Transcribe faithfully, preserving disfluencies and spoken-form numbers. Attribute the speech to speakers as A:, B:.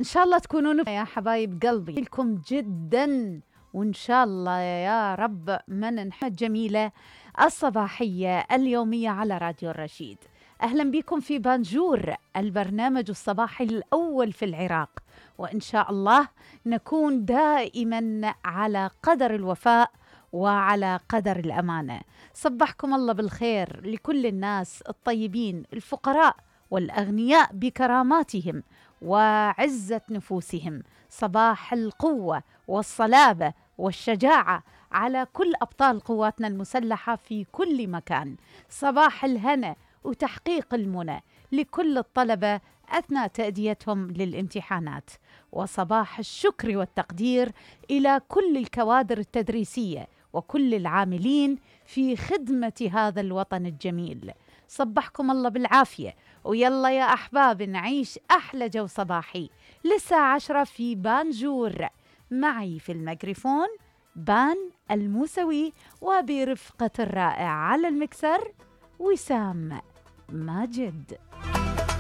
A: إن شاء الله تكونون يا حبايب قلبي لكم جدا، وإن شاء الله يا رب من نحمد جميلة الصباحية اليومية على راديو الرشيد. أهلا بكم في بانجور، البرنامج الصباحي الأول في العراق، وإن شاء الله نكون دائما على قدر الوفاء وعلى قدر الأمانة. صبحكم الله بالخير لكل الناس الطيبين الفقراء والأغنياء بكراماتهم وعزة نفوسهم. صباح القوة والصلابة والشجاعة على كل أبطال قواتنا المسلحة في كل مكان. صباح الهنا وتحقيق المنى لكل الطلبة أثناء تأديتهم للامتحانات، وصباح الشكر والتقدير إلى كل الكوادر التدريسية وكل العاملين في خدمة هذا الوطن الجميل. صبحكم الله بالعافية، ويلا يا أحباب نعيش أحلى جو صباحي للساعة عشرة في بانجور. معي في الميكروفون بان الموسوي، وبرفقة الرائع على المكسر وسام ماجد.